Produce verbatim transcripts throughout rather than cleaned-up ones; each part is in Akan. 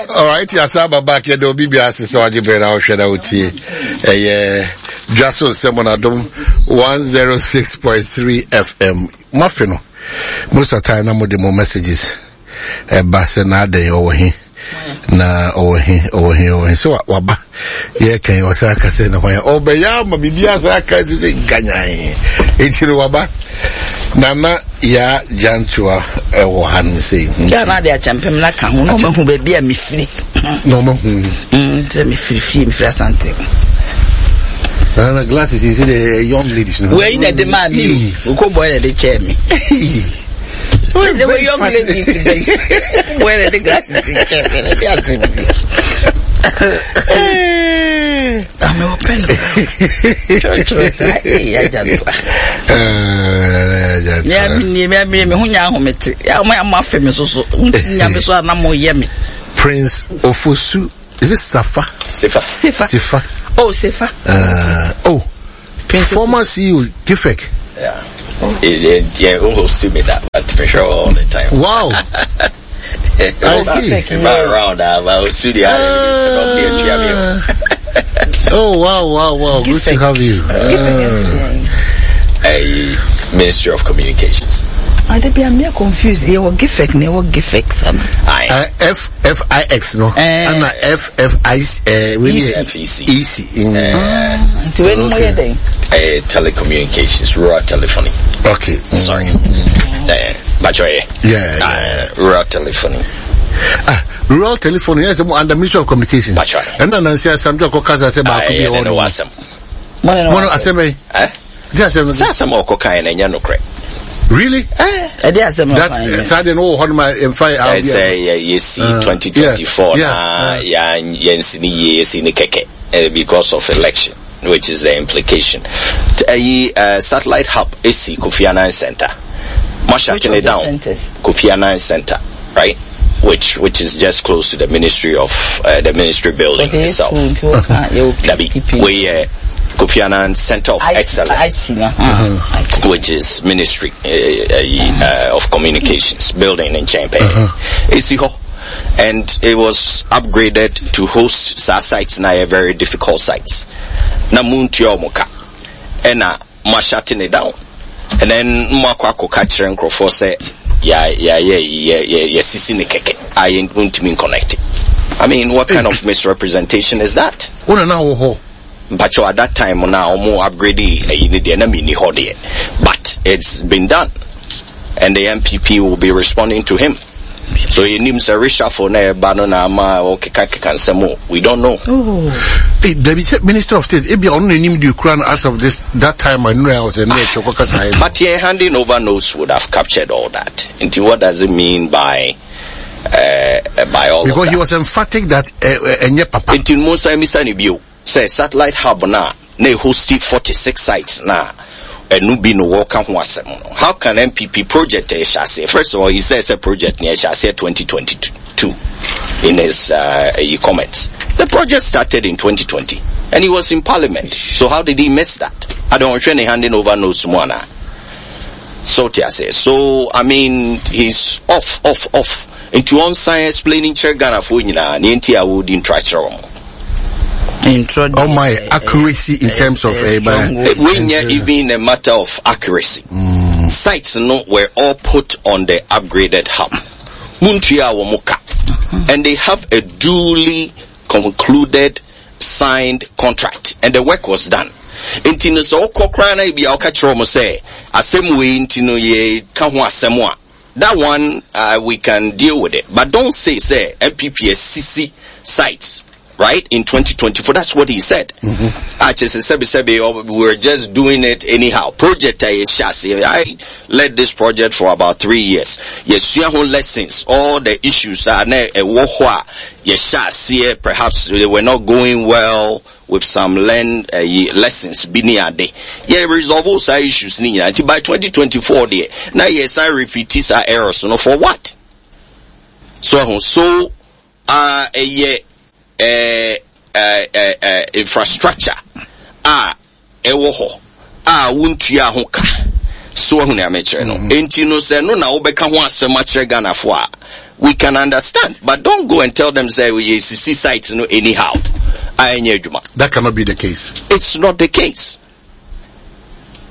Alright, yɛasa aba back. Yɛde obi bi ase sɛ wagye berɛ na wohwɛ na wotie ɛyɛ Dwa So Nsɛm on Adom one oh six point three F M. Moafe no, most of the time na mode mo messages ɛba sɛ na adɛn, ɔwɔ he na ɔwɔ he, ɔwɔ he, ɔwɔ he, sɛ wa- waba. Yɛkɛn ɔsɛ aka sɛ ne hwan ɔbɛyɛ ama biribi asa aka sɛ sɛ nkanyan. Ɛnti no waba, Nana Yaa Gyantoa ɛwɔ ha no sɛ Kí na de akyɛmpem na ka ho na ɔmahu baabi a mefiri. Na ɔmahu. Mm, sɛ mefiri fie, mefiri Asante. Nana glasses yi sɛ the young ladies no. Wei na de maa mi o, okɔ bɔ na de kyɛɛ mi. They were young ladies bɛyi bɔ na de glasses kyɛɛ mi na de ase bi. Ame wɔ pɛn kyerɛkyerɛ saa ee Agyantoa. Mea mi nie, mea mi nie, mi ho nya ahomete. Ya mo ya mo afe mi soso. Nya mi so ana mo yɛ mi. Prince Ofosu, is it Safa? Sefa. Sefa. Sefa. Oh, Sefa. Uh, oh, Prince former C E O G I F E C. Yeah. It, it, yeah, almost me that, but for sure all the time. Wow. I see. If I'm around, I'm out studio. Uh, oh wow, wow, wow! Good to have you. Uh, A Ministry of Communications. Ade bi a me confused. Yɛ wɔ G I F E C na yɛ wɔ G I F E C sana. Aye. uh, F F I X no, Eh. and F F I uh, really F E C. E C. Mm. Nti wei no mo yɛ dɛn? Uh, telecommunications, rural telephony. Okay. Sorry. Uh, but yeah. Yeah, yeah. Uh, rural telephony. Ah, rural telephone. Yes, under Ministry of Communications. That's right. And then Nancy Asam Joko Kasa say baako bi Aye, wɔ no no. wasɛm. Mo ne no. Mo no asɛm bɛn? Eh? Di asɛm no. Sɛ asɛm a ɔkɔ kan na ɛnyɛ nokorɛ. Really? Ɛde asɛm na That ɔkan yɛ. Saa de no wɔ hɔ no ma mfa Sɛ yɛ yɛsi twenty twenty-four yeah, na yɛ yɛnsi ne yie, yɛsi ne kɛkɛ eh, because of election, which is the implication. T- ɛyi uh, satellite hub esi Kofi Annan Center. Mo Which shutting of it the down. centers? Kofi Annan Center, right? Which which is just close to the ministry of uh, the ministry building But itself. two nti wɔka yɛ wɔ Dabi, peacekeeping. we uh, Kofi Annan Center of Excellence, I C na. Uh-huh. which is Ministry uh, uh, of Communications building in Champaign. Esi hɔ. And it was upgraded to host saa sites na yɛ very difficult sites. Na muntua ɔmo ka. Ɛna mo shutting it down. And then mo akɔ akɔka kyerɛ nkurɔfoɔ sɛ ya ya yɛ yɛ yɛ yɛsisi ne kɛkɛ a yɛn ntumi connect. I mean, what kind of misrepresentation is that? Wo na na wɔ hɔ. Mpacho, at that time na ɔmo upgrade ɛyi ne deɛ na mi ni hɔ deɛ, but it's been done and the N P P will be responding to him, so yɛnim sɛ reshuffle na ɛba no na ama ɔkeka keka nsɛm o, we don't know. Hey, dabi, sɛ Minister of State ebi a ɔno n'anim di okura no as of this that time I know I was in there kyerɛ kɔkasa yɛ. But yeah, handing over notes would have captured all that. Nti what does it mean by uh, by all Because of that? He was emphatic that ɛnyɛ papa. Nti mo nsan misa ne bio sɛ satellite hub na na host forty-six sites na ɛno bi no wɔka ho asɛm no, how can N P P project ɛhyɛ aseɛ? First of all, he says sɛ project ne ɛhyɛ aseɛ twenty twenty-two. In his uh, uh, comments, the project started in twenty twenty and he was in parliament, so how did he miss that? I don't want any handing over notes mu ana so te ase. So I mean, he's off, off, off. Nti ɔnsan explaining kyerɛ Ghanafoɔ nyinaa ne nti a wɔredi ntra kyerɛ wɔn. Intro. Oh my, accuracy in terms of eh, strong by- word. We even a matter of accuracy. Sites no were all put on the upgraded hub. Muntua wɔn ka. And they have a duly concluded signed contract and the work was done. Nti no sɛ wokɔ koraa na ebi a woka kyerɛ wɔn sɛ asɛm wei nti no yɛ ka ho asɛm a, that one uh, we can deal with it. But don't say sɛ N P P asisi sites, right, in twenty twenty-four. That's what he said. Actually, sɛbi sɛbi, oh, we're just doing it anyhow. Project a yɛhyɛ aseɛ, I led this project for about three years. Yɛsua ho lessons, all the issues a na ɛwɔ hɔ a yɛhyɛ aseɛ, perhaps they were not going well with some learn uh, lessons bi ne ade. Yɛ resolve all saa issues ne nyinaa. Nti by twenty twenty-four deɛ, na yɛsan repeat saa errors no for what? So, so uh, ɛyɛ uh, uh, uh, uh, infrastructure a ɛwɔ hɔ a wontua ho ka so ahu nea mekyerɛ no. Enti no sɛ no na wobɛka ho asɛm akyerɛ Ghanafoɔ a, we can understand. But don't go and tell them say we see sites no anyhow. That cannot be the case. It's not the case.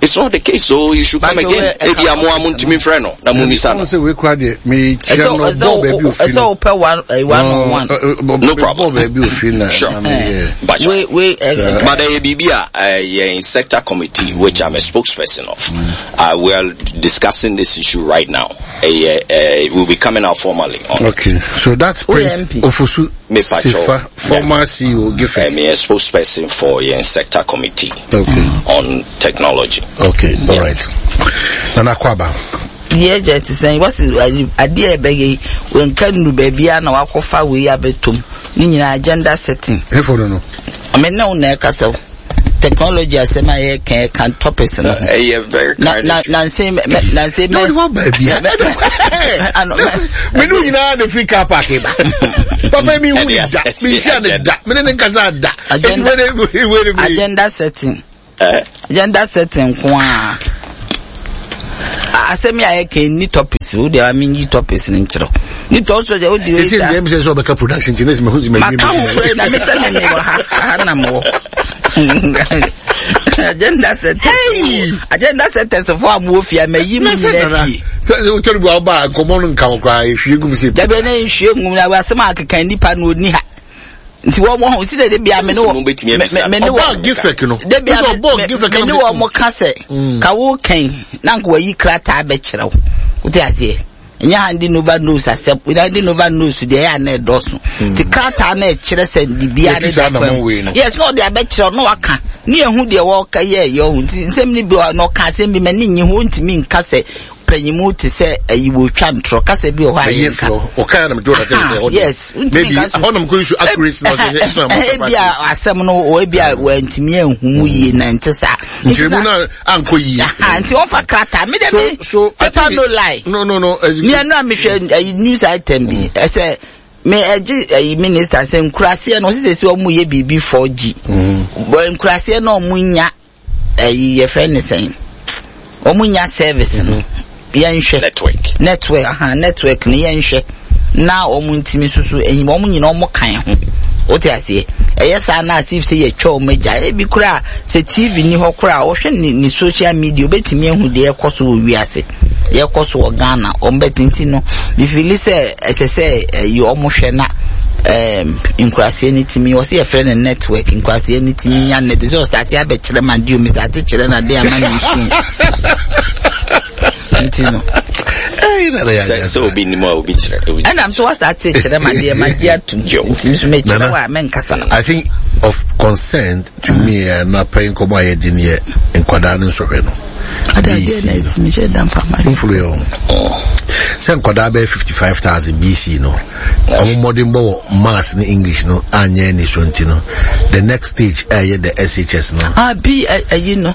It's not the case, so you should come again. Ebi amu amu ntumi frɛ no na mu nisa no. Sɛ we kura deɛ mi kyerɛ no bɔɔl baabi ofiri no. Ɛsɛ ɔpɛ one one on one. No problem. Bɔɔl baabi ofiri na. Sure. But we we. But ɛyɛ biribi a yɛn sector committee, which I'm a spokesperson of, uh, we are discussing this issue right now. Uh, uh, we'll be coming out formally on. Okay, so that's Prince Ofosu Sefa, former C E O GIFEC. I'm a spokesperson for the sector committee. Okay. On technology. Okay, all yeah. right. Nana Kwaba. Yeah, just saying, what's the idea? Begi when can you baby and wakofa we abetum? Ni agenda setting. If no no. I mean no na kasa. Technology asema ye can can topics no. Eh very kind. Na na say na say me. No baby. Me no nyina the free car park ba. Papa mi hu da. Mi share ne da. Me ne nkasa da. Agenda setting. Agenda setting kwa. Asemi aye kan ni topics wo de am ni topics ni nkyero. Ni to so de wo de. Say the M C so beka production nti me hu me. Maka ho na me se me wo ha na mo. Agenda setters. Hey! Agenda setters for am wo fia ma yi mu na bi. So tell you about nkomo no nka wo kra ehwie gum se. Da be na ehwie gum na asem akeka nipa no oni ha. Nti wo mo ho ti de bia me no me ne wo GIFEC no. De bia me ne wo mo ka se ka wo kan na nka wayi krata be kyerɛ wo. Wo te ase. Nya handi nova news asem. We handi nova news de ya na edoso. Ti krata na e kyerɛ se di bia ne da. Yes, no de abekyerɛ no waka. Ni ehu de wo ka ye ye hu. Nti nsem ni bi no ka asem bi mani nyi ho ntimi nka se panyimu te se ayi wo twa ntro ka se bi o ha ye nka. O ka na me do na se o. Yes, ntimi nka so. Maybe honam ko issue accuracy no se e bia asem no o e bia ntimi anhu mu yie na nti sa. Nti mu na anko yie. Nti o fa krata me de me. So paper no lie. No no no. Me no me hwe news item bi. E se me eji minister se nkurase no se se o mu ye B B four G. Bo nkurase na o mu nya eh ye friend ne sen. O mu nya service no. Yenhwe network. Network aha network ne yenhwe. Na o mu ntimi susu enyim o mu nyina o mu kan ho. O te ase. Eye sa na as if say ye twa o magya. E bi kura se T V ni ho kura o hwe ni social media obetimi ehu de ekoso wo wiase. Ye koso wo Ghana o mbetinti no bifili se esese ye omo hwe na em nkurase ni timi wo se ye frɛ ne network nkurase ni timi nya net so start ya be kyerɛ man dio mi start kyerɛ na de ama ni su nti no eh na ya so obi ni mo obi kyerɛ and I'm so what start kyerɛ man de ma dia tum nti so me kyerɛ wa me nkasa. I think of concern to me na pay nkomo aye di ne nkwada no so hwe no. Sɛ nkwadaa bɛyɛ fifty-five thousand B C no ɔmo mmɔden bɔ wɔ maths ne English no anyɛ ne so nti no the next stage ɛyɛ the S H S no. Ah B ɛyi no.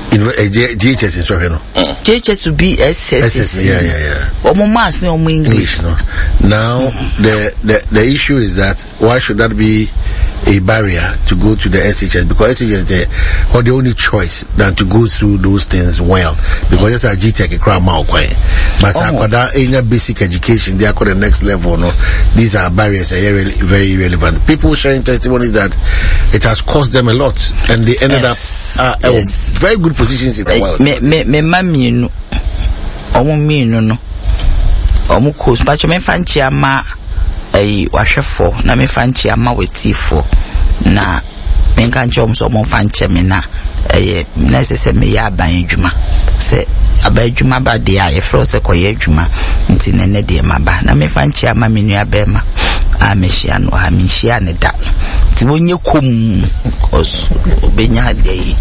G H S nsɔhwɛ no. G H S to B S S. S S yeah yeah yeah. Ɔmo maths ne ɔmo English. English no. Now the the the issue is that why should that be a barrier to go to the S H S? Because S H S they are the only choice than to go through those things well. Because just a G Tech but oh. Basic education, they are called the next level. No, these are barriers are very, very relevant. People sharing testimonies that it has cost them a lot, and they ended yes. up uh, yes. very good positions in the world. Me me me mami no, omo mi no no, omo course. But me fancy ama eh wahwefo na me fancy ama wetifo na me nka nche omo so omo fancy me na eh na sese me ya aban adwuma se aba adwuma ba de a yefro se koye adwuma nti ne ne de ma ba na me fancy ama me nua be ma a me hia no a me hia ne da nti wonye kom cause obenya de yi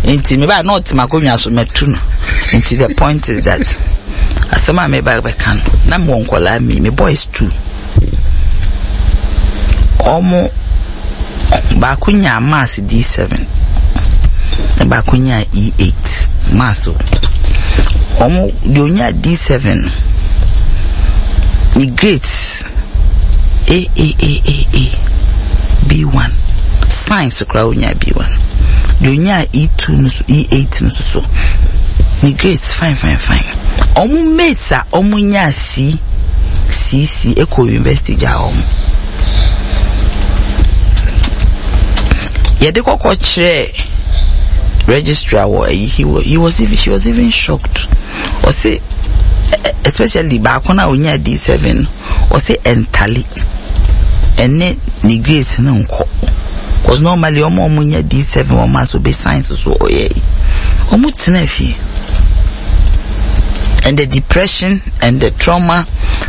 nti me ba na otima konwa so metu no nti the point is that asema me ba be kan na me wonkola mi me boys two omo baako nya mass D seven na baako nya E eight mass omo de onya D seven ni grades A A A A A B one science kra onya B one de onya E two no so E eight no so ni grades fine fine fine omo mates a omo nya C C C C ɛkɔ university gya wɔn. Yɛde kɔkɔ kyerɛ registrar wɔ ɛyi, he was, he was even, she was even shocked. Ɔse especially baako na onya D seven no, ɔse ɛntally ɛne ne grades no nkɔ, cause normally ɔmo a ɔmo nya D seven wɔn aso bɛ science so ɔyɛ yi, ɔmo tena fie, and the depression and the trauma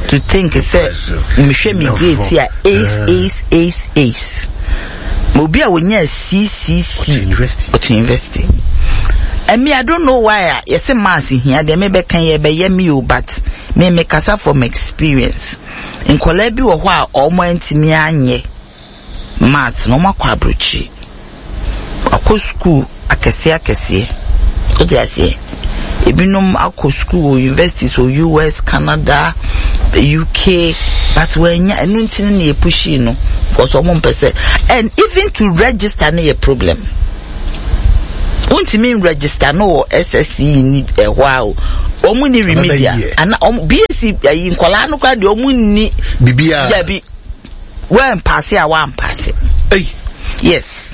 to think sɛ mehwɛ me grades a, ace, ace, ace, ace, ma obi a wonya C C C. Ɔte university. Ɔte university. Ɛmi, I don't know why a yɛsɛ maths hia deɛ, mebɛka yɛ bɛyɛ mi o, but me mekasa from experience. Nkɔlaa bi wɔ hɔ a ɔmo antumi anyɛ maths na ɔmo akɔ aburokyire, akɔ school akɛseɛ akɛseɛ, o ti aseɛ? Ebinom akɔ school wɔ universities wɔ U S, Canada, U K, but wɔanya ɛno nti no na yɛ push no, because ɔmo mpɛ sɛ, and even to register no yɛ problem. Wontumi register no wɔ S S C E ni ɛhɔ a o wɔn ni remedial year. Ana wɔn B S C ayi nkɔlaa no koraa deɛ, wɔn ni biribiara. Dabi, wɔn mpaase a wɔn ampaase. Ei. Yes.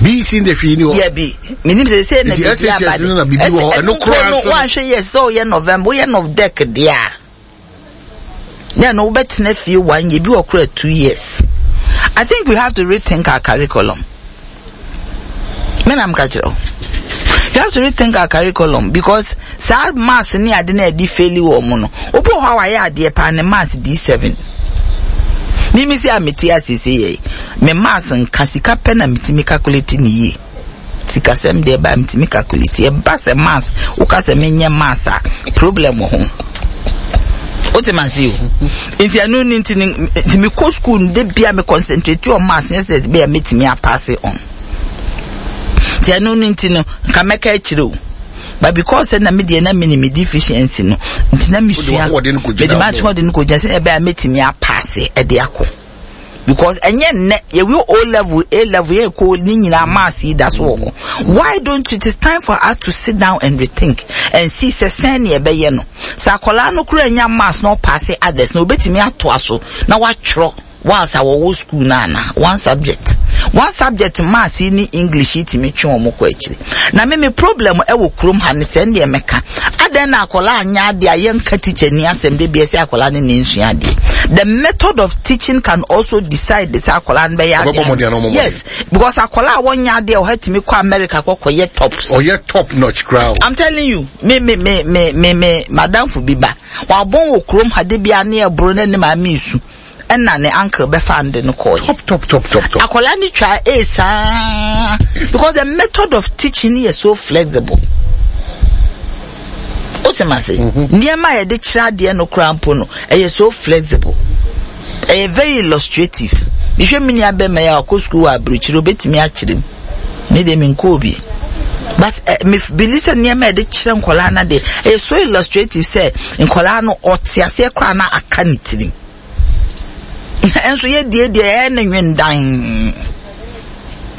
B E C de hwee ni hɔ. Yɛ bi menim sɛ sɛ na Nti biribi S H S aba de no na biribi wɔ hɔ, ɛno koraa no nso no. Woanhwɛ yɛ sɛ woyɛ November, woyɛ Nov Dec deɛ a, ne no wobɛtena fie one year bi wɔ kora two years. I think we have to rethink our curriculum. Me na mka kyerɛ wo, you have to rethink our curriculum, because saa maths ne ade na ɛde fail wɔ mu no, obi wɔ hɔ a wayɛ adeɛ paa, ne maths D seven. Mimi si a mete asese yɛ me maths nka sika pɛ na metumi calculate ne yie. Sikasɛm deɛ ba metumi calculate, ɛba sɛ maths, woka sɛ menyɛ maths a, problem wɔ ho. Wote ma se o, nti ɛno ne nti ne nti mekɔ school no de bia me concentrate on maths nyɛ sɛ bia metumi apass on. Nti ɛno ne nti no nka mɛka akyire o, but because sɛ na me deɛ na me ne me deficiency no nti na mesua. Wode w'ahoɔden no kɔgyina mede wo. M'ahoɔden no kɔgyina sɛ ɛbɛyɛ a mɛtumi apass ɛde akɔ, because ɛnyɛ nnɛ yɛwi O level, A level, yɛ kɔ ne nyinaa maths yi da so wɔ hɔ. Why don't you, it is time for us to sit down and rethink and see sɛ sɛn ne ɛbɛyɛ no sɛ akwadaa no kura nya maths na ɔpass others na obetumi atoa so na watwerɛ whilst a wɔwɔ school no ana one subject, one subject, maths yi ne English yi tumi twe wɔn kɔ akyire. Na me me problem ɛwɔ kurom ha ne sɛ ndeɛ mɛka adan na akwadaa anya adeɛ a yɛnka teacher ni asɛm de bi ɛsɛ akwadaa ne ne nsua adeɛ. The method of teaching can also decide sɛ akwadaa no bɛyɛ Ɔbɛbɔ mmɔden anaa ɔmmɔ mmɔden? Yes, because akwadaa a wɔnyɛ adeɛ ɔha tumi kɔ America kɔkɔyɛ tops. Ɔyɛ top notch koraa o. I'm telling you, me me me me me me madamfo bi ba wabɔn wɔ kurom ha de bia ne ɛboro ne ne maame nsu, ɛna ne uncle bɛfa no de no kɔɔ. Top, top, top, top, top. Akwadaa no twa A saa because the method of teaching yɛ so flexible. O ti ma se nneɛma a yɛde kyerɛ adeɛ no koraa mpo no ɛyɛ so flexible, ɛyɛ very illustrative. Mehwɛ mi nua bɛrima yi a ɔkɔ sukuu wɔ aburokyire, obetumi akyerɛ mu ne deɛ mi nkɔ obi, but uh, me believe sɛ nneɛma a yɛde kyerɛ nkɔlaa no deɛ ɛyɛ so illustrative sɛ nkɔlaa no ɔte aseɛ koraa na aka ne tirim. Nso yɛ die deɛ ɛyɛ ne nwen dan.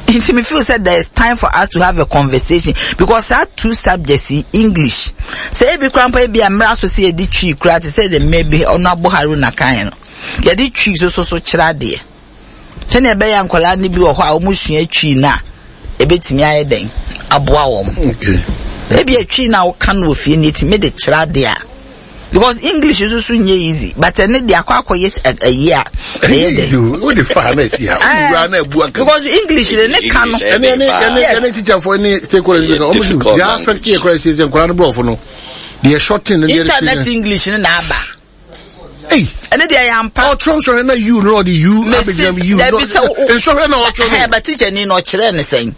Nti me feel sɛ there is time for us to have a conversation, because saa two subjects yi, English sɛ ebi koraa mpo, ebi a mmerɛ so sɛ yɛde Twi koraa te sɛ de mmerɛ bi ɔno abo Haruna kan no, yɛde Twi so so so kyerɛ adeɛ sɛnea ɛbɛyɛ a nkwadaa no bi wɔ hɔ a wɔn sua Twi no a, ebetumi ayɛ dɛn aboa wɔn. Okay. Ebi atwi na woka no wɔ fie no etumi de kyerɛ adeɛ a, because English nso so nyɛ easy, but ɛne de akɔ akɔyɛ ayi a ɛyɛ dɛ. O de fa na esi ha, o de wura na ebu aka. Because English ne ne ka no. Ɛne ɛne ɛne ɛne teacher fo ɛne stakeholders bi ka ɔmo di deɛ affect yɛ kora esi esi nkora no borɔfo no deɛ shorten no deɛ. Internet English ne na aba. Ei. Ɛne deɛ yɛ ampa. Ɔtwerɛ nsɔhwɛ na u no ɔde u abegyina mu u dabi sɛ o nsɔhwɛ na ɔtwerɛ no. Ɛhɛn, but teacher ni na ɔkyerɛ ne sɛn?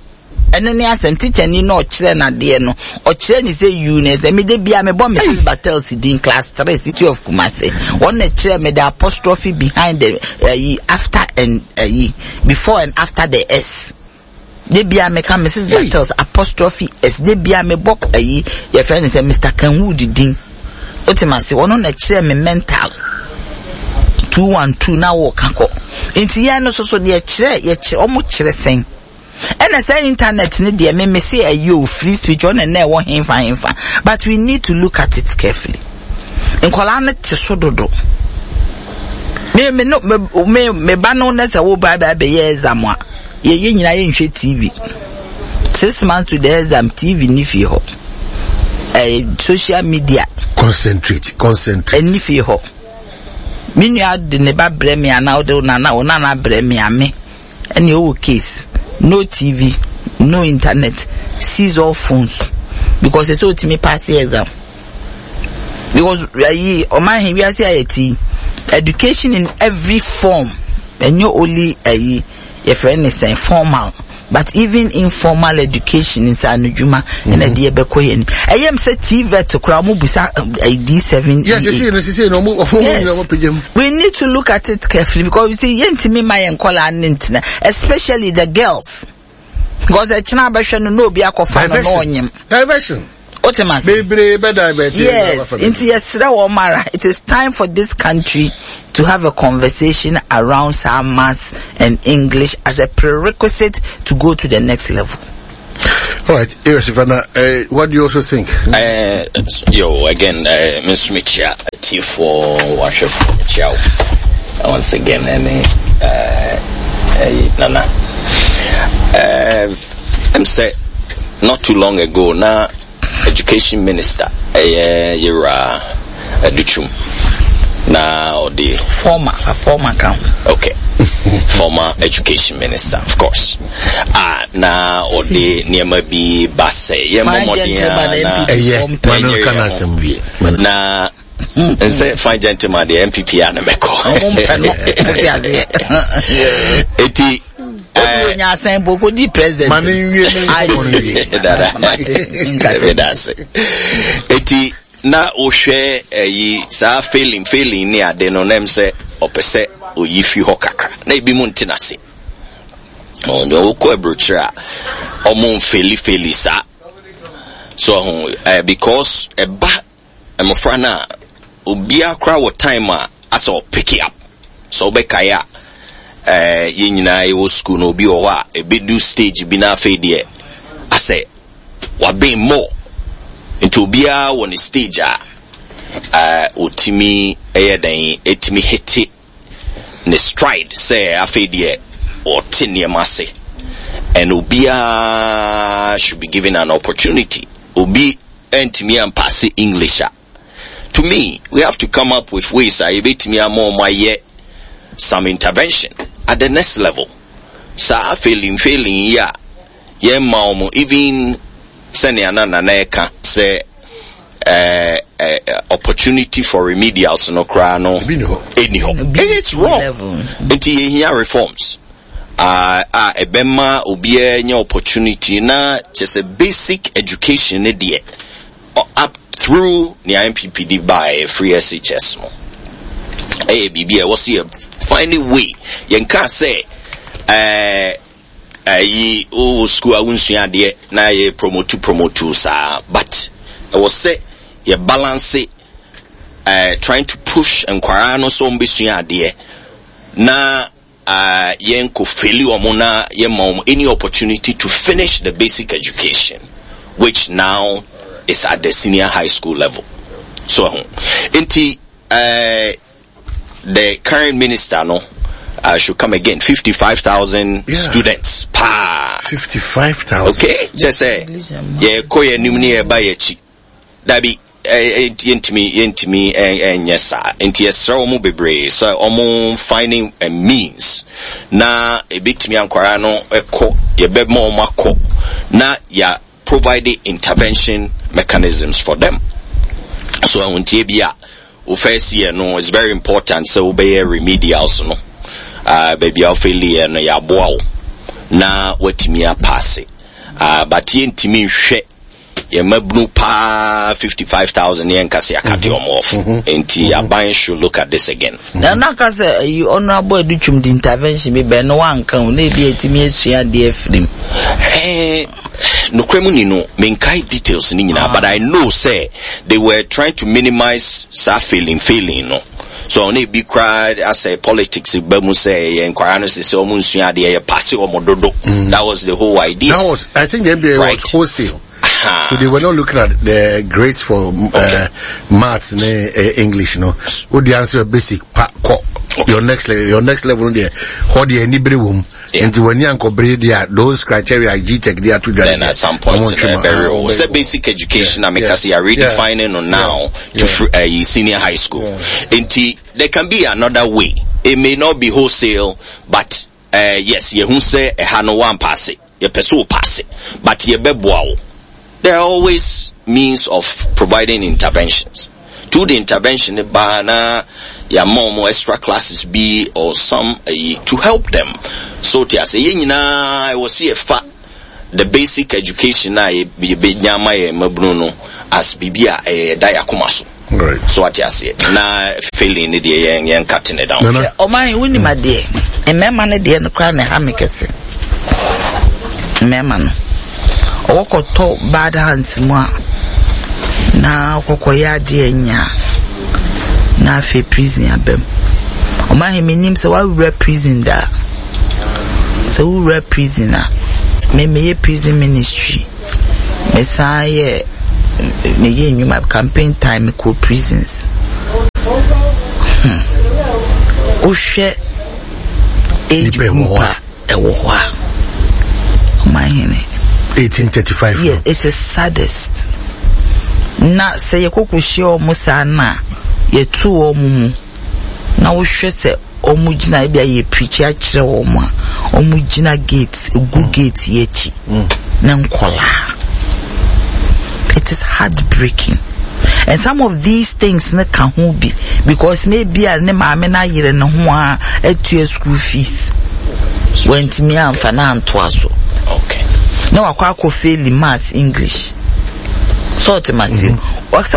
Ɛne ne asɛm, teacher ni na ɔkyerɛ n'adeɛ no, ɔkyerɛ ne sɛ u ne sɛ mede bia mebɔ Missus Battles din, class three, City of Kumasi. Wɔn na kyerɛ me the apostrophe behind the ɛyi, uh, after and ɛyi, uh, before and after the s. De bia meka Missus Battles, apostrophe s. De bia mebɔ ɛyi, yɛfrɛ ne sɛ Mister Kenwood din, wote ma se ɔno na kyerɛ me mental two one two na wɔka kɔ. Nti yɛn no so so deɛ kyerɛ yɛkyerɛ ɔmo kyerɛ sɛn? Ɛna sɛ internet ne deɛ me me se ɛyɛ o, free speech ɔna na ɛwɔ hemfa hemfa, but we need to look at it carefully. Nkɔlaa no te so dodo. Me me no me me me ba no na sɛ wo ba ba bɛyɛ exam a, yɛyɛ nyinaa yɛnhwɛ T V. Six months to the exam, T V ni fie hɔ. Ɛɛ social media. Concentrate, concentrate. Ɛni fie hɔ. Me nua de ne ba brɛ me anaa wode wo nana wo nana brɛ me a, me ɛne ɔwɔ case. No T V, no internet, seize all phones because ɛsɛ otumi pass exam. Because ayi ɔman he wiase ayɛ ti, education in every form, ɛnyɛ only ayi yɛfrɛ ne sɛn, formal, but even informal education, nsaanodwuma ɛna deɛ ɛbɛkɔ yɛn anim. Ɛyɛ m sɛ T V E T koraa ɔmo busa D seven. Yes, sisi no sisi no ɔmo ɔmo Yes. nyinaa ɔmo pagya mu. We need to look at it carefully because you see, yɛntumi ma yɛn nkɔlaa ne ntena, especially the girls, because ɛkyena abɛhwɛ no na obi akɔfa no na ɔnyem. Diversion. Wote ma se? Bebree bɛ divert. Yes, nti yɛsrɛ wɔn mara, it is time for this country to have a conversation around saa maths and English as a prerequisite to go to the next level. All right, Irasifana, uh, what do you also think? Uh, yo, again, uh, Mister Michia, T for wahwɛfo mekyia wo once again, ɛne uh, uh, Nana. Uh, I'm say not too long ago na education minister ɛyɛ yɛwura Adutwum na ɔde Former, a former ka ho. Okay, former education minister, of course. Ah, na ɔde nneɛma bi ba sɛ yɛmmɔ Fine mmɔden gentleman, a na N P P. Ɛyɛ, ma no nka n'asɛm wie. Ma no- Na nsɛ fine gentleman deɛ, N P P a na mɛkɔ. Ɔmo mpɛ no, mote aseɛ. Eti Ɔde onya asɛn bo kɔdi president. Ma no nwie ne nkɔmmɔ no wie. Dada. Mate, nkasa. Meda ase. Eti na wohwɛ ɛyi saa failing failing ne ade no, nam sɛ ɔpɛ sɛ oyi fi hɔ kakra na ebi mu nte n'ase. Ɔno wokɔ aburokyerɛ a, ɔmo nfail fail saa so ɔho ɛɛ because ɛba mmɔfra no a, obiara koraa wɔ time a asɛ ɔpick up. Sɛ wobɛkae a, ɛɛ yɛn nyinaa yɛwɔ school no, obi wɔ hɔ a ebedu stage bi na afei deɛ asɛ wabɛn more, nti obiara wɔ ne stage a ɛɛ otimi ɛyɛ dɛn, etimi hit ne stride sɛ afei deɛ ɔte nneɛma ase, and obiara should be given an opportunity. Obi ɛntumi ampass English a, to me, we have to come up with ways a yɛbɛtumi ama ɔmo ayɛ some intervention at the next level. Saa failing failing yi a yɛmma ɔmo even sɛnea na Nana ɛka sɛ uh, uh, opportunity for remedials no koraa no Ebi ni hɔ. Ɛni hɔ. It's wrong. Level. Nti yɛhia reforms uh, a ɛbɛma obiara nya opportunity na kyɛ sɛ basic education ne deɛ uh, up through nea N P P de baeɛ, free S H S no, ɛyɛ biribi a ɛwɔ sɛ yɛ find a way. Yɛnka sɛ ɛɛ ɛyi wowɔ school a wonsua adeɛ na yɛ promote promote saa, but ɛwɔ sɛ yɛ balance uh, trying to push nkwaraa no sɛ ɔmbɛsua adeɛ na uh, yɛnkɔ fail ɔmo na yɛma ɔmo any opportunity to finish the basic education, which now is at the senior high school level. So ɛho nti uh, the current minister no uh, should come again. fifty-five thousand Yeah. students paa. Fifty-five thousand. Okay, kyɛ sɛ yɛkɔ yɛn anim ne yɛba yɛakyi dabi, ɛ- ɛ- yɛntumi yɛntumi ɛ- ɛnyɛ saa. Nti yɛsrɛ wɔn bebree sɛ wɔn finding a means na ebetumi ankwaraa no ɛkɔ, yɛbɛma wɔn akɔ na yɛ provide intervention mechanisms for them. So ahuntie bi a wo first year no is very important sɛ wobɛyɛ remedials no, uh, baabi a wofail yɛ no, yɛaboa wo na watumi apass, uh, but yɛntumi nhwɛ yɛn mabunu paa fifty-five thousand yɛn nkasa yɛacut ɔmo off. Nti aban should look at this again. Na naka sɛ ayi Honorable Adutwum de intervention bi bɛn no wanka o, na ebi etimi esua adeɛ afiri mu. Eh, nokorɛ mu ni no, menkae details ni nyinaa, but I know sɛ they were trying to minimize saa failing failing no. So ɔno ebi koraa asɛ politics ba mu sɛ yɛn nkwaraa no sɛ sɛ ɔmo nsua adeɛ, yɛ pass ɔmo dodo. That was the whole idea. That was, I think the N B A Right. was wholesale. Aha. So they were not looking at the grades for okay. uh, maths and uh, English, you know. What the answer basic pa okay. Your next level, your next level there. How the anybody womb. And when you there, those criteria G Tech they are to then at some point in the uh, so basic education, I mean, because you are redefining yeah. now yeah. to yeah. uh, senior high school. Yeah. And there can be another way. It may not be wholesale, but uh, yes, you who say a hano one pass it, you pursue pass it, but you beboa. There are always means of providing interventions. To the intervention, bana ya more extra classes be or some uh, to help them. So tia say yina I will see a fa the basic education na ye be nyama ye mabunu no as bibia e da yakoma so. Right. So what you say na failing the yen yen cutting it down. O man woni ma de. E mema ne de no kra na ha me kese. Mema no. O koto bad hands mu a na kokoya de nya na fe prison abem. O man me nim se wa wura prison da. Se wura prison a me me prison ministry. Me say me ye nyuma campaign time ko prisons. Hmm. O hwe age group a ewo ho a. My hene eighteen thirty-five. Yes, it is saddest. Na se ye kokohye omo sa na ye tu omo mu. Na wo hwe se omo gina bia ye preach a kire omo a omo gina gate egu gate ye chi. Na nkola. It is heartbreaking. And some of these things ne can ho bi because maybe a ne maame na yire ne ho a etua school fees. Went me amfa na antoa so. Okay. Na wakwa akọ fail maths English. So to myself.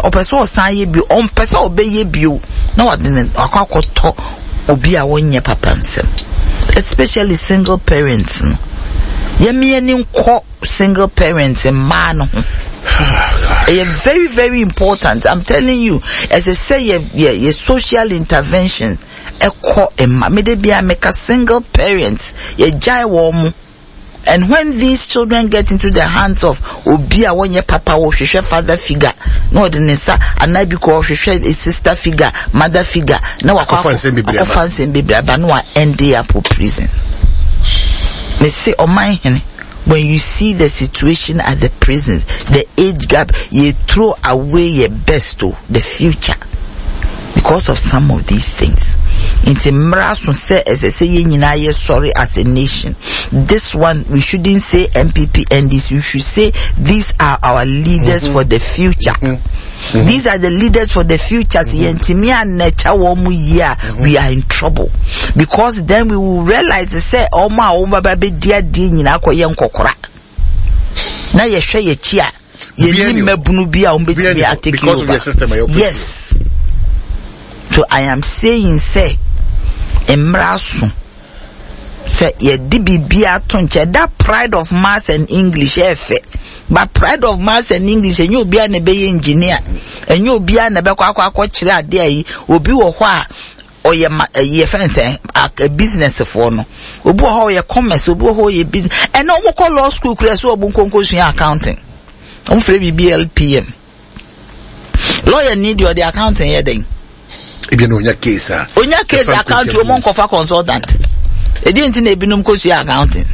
O person o san ye bi o mpesa obeye bi o. Na wa de akwa akọtọ obi a wonye papa nsem. Especially single parents no. Yemi ni nko single parents ma no. It's very, very important. I'm telling you, as I say, your, your, your social intervention, make a single parents, and when these children get into the hands of Obia, when your papa or father figure, no, the nessa, and I because a sister figure, mother figure, no, I can't no, I end up in prison. They say, oh my, when you see the situation at the prisons, the age gap, you throw away your best to the future because of some of these things. Inti mrasu say, as I say, sorry as a nation. This one, we shouldn't say M P P N D C. We should say these are our leaders mm-hmm. for the future. Mm-hmm. Mm-hmm. These are the leaders for the future. Mm-hmm. We are in trouble. Because then we will realize, say, Oma, Oma, baby, dear, dear, Nina, Koyen, Kokora. Now you share your chia. You need because of your system. Yes. So I am saying, say, Emrasu. Say, ye D B B atonche. That pride of maths and English, eh, but pride of maths and English, and you be an engineer, and you be an ebekwa akwa kyerɛ ade ayi obi wɔ hɔ a ɔyɛ ye fɛn sɛ business for no obi wɔ hɔ ɔyɛ commerce obi wɔ hɔ ɔyɛ business ɛna ɔmo kɔ law school kura so ɔmo nkonko sua accounting ɔmo frɛ bi L P M lawyer ni deɛ ɔde accounting yɛ den ebi na onya case a onya case accounting ɔmo nkɔfa consultant edi nti na ebinom kɔ sua accounting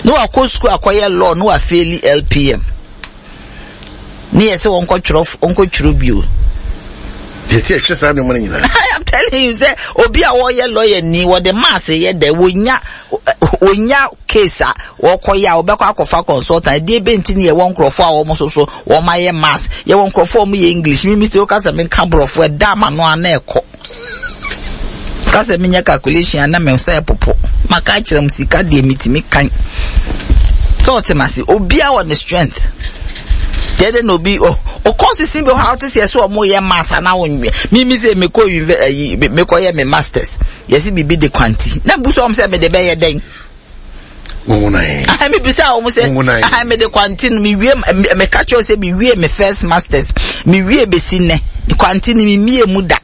no akɔ school akɔyɛ law no afeeli L P M ni yɛ sɛ wɔnkɔ twerɛ wɔnkɔ twerɛ bio. I am telling you, say obi a wɔyɛ lawyer ni wɔde mass yɛ dɛ wonya wonya case a wɔkɔ yɛ a wɔbɛkɔ akɔfa consultant deɛ ebe nti ni yɛ wɔn nkorɔfo a wɔn soso wɔn ayɛ mass yɛ wɔn nkorɔfo a wɔn yɛ English mimi sɛ okasa mi nka borɔfo ɛda ama no ana ɛkɔ kasa mi nyɛ calculation ana mi nsa ɛpopo maka akyerɛ mu sika deɛ mi ti mi kan tɔɔte ma se obi a wɔ ne strength. Then no be oh o consistent be how to say so mo ye mass ana wonwe mi mi say me ko me ko ye me masters yes bi bi de quantity na bu so am say me de be ye den I me bi say o say I me de quantity me wie me catch you say me wie me first masters me wie be si ne quantity me mie mu da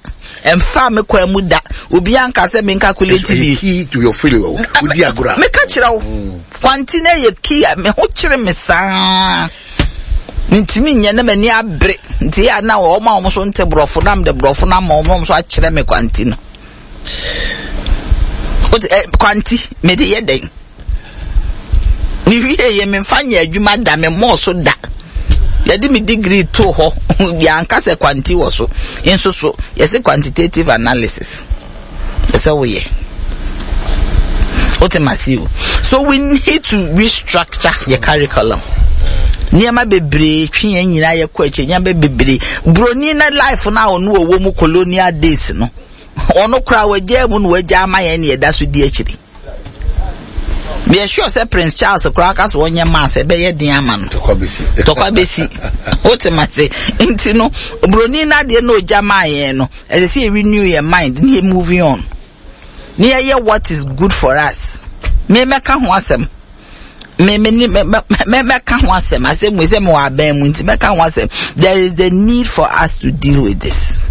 emfa me kwa mu da obi anka say me calculate bi key to your failure odi agora me catch you quantity na ye key me ho kire me saa. Ntumi nyɛ na m'ani abere nti yɛ na wɔn a wɔn so nte borɔfo na mede borɔfo na ama wɔn na wɔn so akyerɛ me quanti no. Wote ɛ quanti mede yɛ dɛn? Ne wie yɛ memfa nyɛ adwuma da, me mmɔɔ so da. Yɛde me degree to hɔ, yɛanka sɛ quanti wɔ so. Nso so yɛsɛ quantitative analysis. Ɛsɛ woyɛ. Wote ma se o. So we need to restructure your curriculum. Nneɛma bebree twe yɛn nyinaa yɛkɔ akyi, nneɛma bebree. Broni na life na ɔno wɔ mu colonial days no. Ɔno koraa wagya mu na wagya ama yɛn na yɛda so di akyiri. Yɛ sure sɛ Prince Charles koraa ka sɛ ɔnyɛ maths, ɛbɛyɛ den ama no. Tɔkwa besi. Tɔkwa besi. Wote ma se. Nti no, broni na adeɛ na ogya maa yɛn no, ɛsɛ sɛ yɛ renew yɛn mind na yɛ moving on. Na yɛyɛ what is good for us. Me mɛka ho asɛm. Me me me me me mɛka ho asɛm. Asɛm wei sɛ mewɔ aban mu nti mɛka ho asɛm. There is the need for us to deal with this.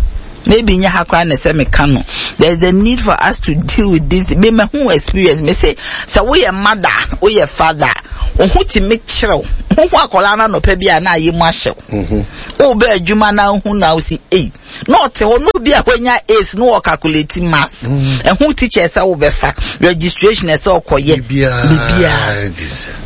Maybe nyɛ ha koraa na ɛsɛ meka no. There is the need for us to deal with this. Me me ho experience. Me say sɛ woyɛ mother, woyɛ father, wo ho tumi kyerɛw. Wo ho akwadaa no anɔpa bi a na ayɛ mu ahyɛw. Wobɛ adwuma na wohu na wosi ei. Na ɔte hɔ na obi a wanya ace na wɔ calculate maths. Ɛho teacher sɛ wobɛfa registration ɛsɛ ɔkɔyɛ. Biribiara. Biribiara.